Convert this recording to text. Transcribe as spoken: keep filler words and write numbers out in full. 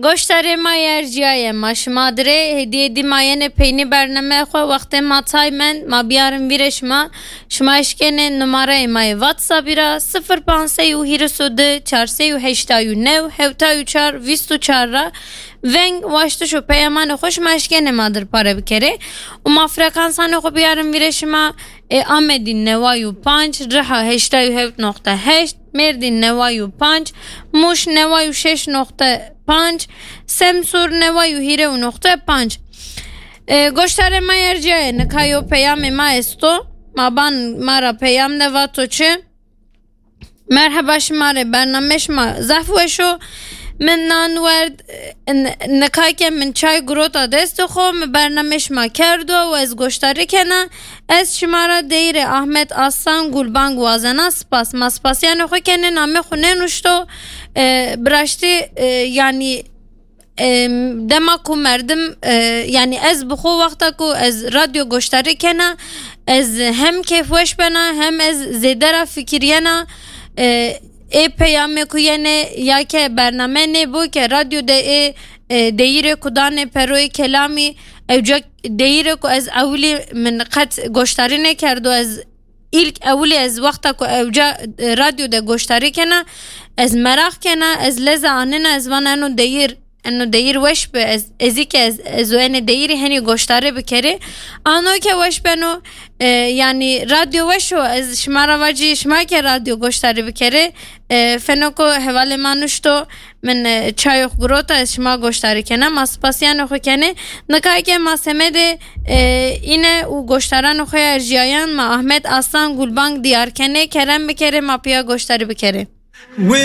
Goştarê ma yê erciyaye, ma şima dirê hêdî hêdî ma yenê peynî bernameya xwe, wextê ma tay mend, ma biyarin vîrê şima. Şima eşkenê numareyê ma yê WhatsAppî ra, sifir panc sey û hîris û du, çar sey û heştay û new, hewtay û çar, vîst û çar ra veng, waştiş û peyamanê xwe şima eşkenê ma dir pare bikerê. Û ma frekansanê xwe biyarin vîrê şima, ê, Amedî neway û panc, Riha heştay û hewt noqte heşt, Mêrdîn neway û panc, Mûş neway û şeş noqte panc, Semsûr neway û hîre û noqte panc. E, goştarê ma yê erciyaye, nika yo peyamê ma esto, ma ban ma ra peyam de, vato çi? Merheba şima rê, bername şima zehf weş o. Min nan werd, n-, nika ke min çay girota destê xwe, min bername şima kerdo û ez goştarî kena. Ez şima ra deyîrê Ahmet Aslan Gulbang wazena spas. Ma spasiyanê xwe kenê, namê xwe nenuşto. E, biraştî, e, yanî, e, dema ku merdim, e, yanî ez bi xwe wexta ku ez radyo goştarî kena, ez hem kêfweş bena, hem ez zêde ra fikiriyena, e, ê peyamê ku yenê ya ke bername nêbo ke radyo de ê, e, deyîrê ku danê Peroyê Kelamî, ewca deyîrê ku ez ewilî min qet goştarî nêkerdo, ez îlk ewilî ez wexta ku ewca, e, radyo de goştarî kena, ez meraq kena, ez leze anena, ez vana eno deyîr, eno deyîr weş bi, ez, ezî ke ez, ez û enê deyîrî henî goştarî bikerê. Ano ke weş beno, e, yanî radyo weş o, ez şima ra vacî, şima ke radyo goştarî bikerê, e, fenoko hevalê ma nuşto, min, e, çayox girota, ez şima goştarî kena, ma spasiyanê xwe kenê. Nika ke ma semedê, e, îne û goştaranê xwe erjiyayan, ma Ahmet Aslan Gulbang diyar kenê, kerem bikerê, ma piya goştarî bikerê. Wê